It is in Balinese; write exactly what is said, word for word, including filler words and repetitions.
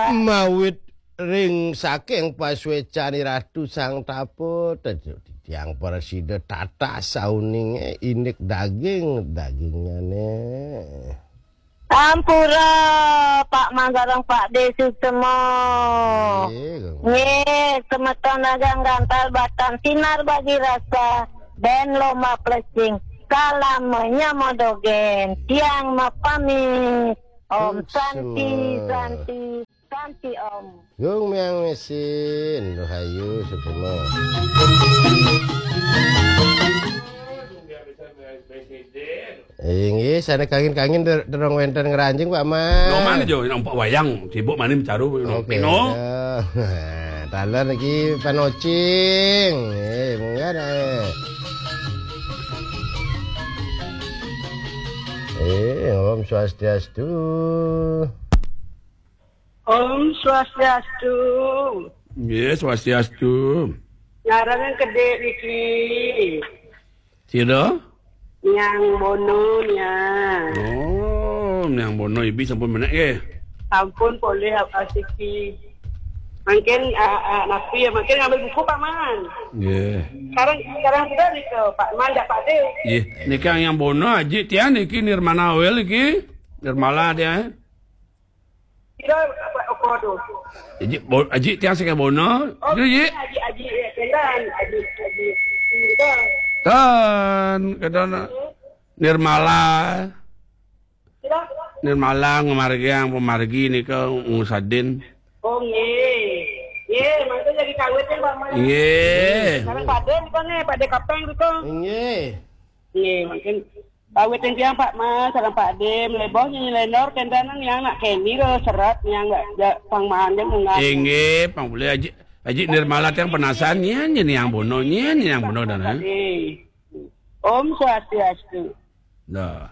Mawit ring saking pasuécan Ratu Sang Tapa, tetiang prasida tatah sauninge indik daging, dagingnyane. Ampura, Pak Man sareng Pak De Suksema. Nggih, Kang. Nggih, semeton dagang gantal batan sinar bagi rasa, ben lomba plesing, kalamanya modogen, tiang mapamit. Om Santi, Suksema. Santi, Santi Om. Gung miang mesin, rahayu, Suksema. Inggih, sana kangin-kangin der-, dereng wénten ngranjing, Pak Man. No, mana jo, nampak wayang, sibuk maning caru, no. Oke, pino. Ya. Taler niki panocing. Eh, munggah dah, eh. Eh, Om Swastiastu. Om Swastiastu. Nggih, Swastiastu. Ngaran kedek niki. Sira? Nyang Bono, Nyang. Oh, Nyang Bono, ibi sampun menek nggih. Sampun polih asiki. Mungkin, ah, ah, napi ya, mungkin ngambil buku, Pak Man. Nggih. Sekarang, sekarang sudah nih ke Pak Man, Pak De. Nggih, niki Nyang Bono, Aji tiang niki Nirmana Wel niki. Nirmala tiang. Kira apa, apa tu? Aji, bo-, Aji tiang saking Bono. Oh, Aji, Aji. Aji, Aji, ya, kenan, Aji, Aji. Kira. Tan, kedan Nirmala. Kira. Nirmala ngamargiang pamargi nika ngusadin. Oh, nggih. Nggih, mangke jadi kawit ya, Pak Man. Nggih. Sekarang Pak De nika nih, Pak De Kapeng nika. Nggih. Nggih, mungkin Pawit tiang Pak Man, sareng Pak De, mleboh nyanyi lenor, kentenan yang nak keni lo serat yang nggak ja-, pang maan dia munggah. Inggih, pang boleh Aji, Aji Nirmala tiang penasaran, nyen, nyen Nyang Bono, nyen, nyen Nyang Bono dan, eh? Pak De. Om Swastiastu. Dah.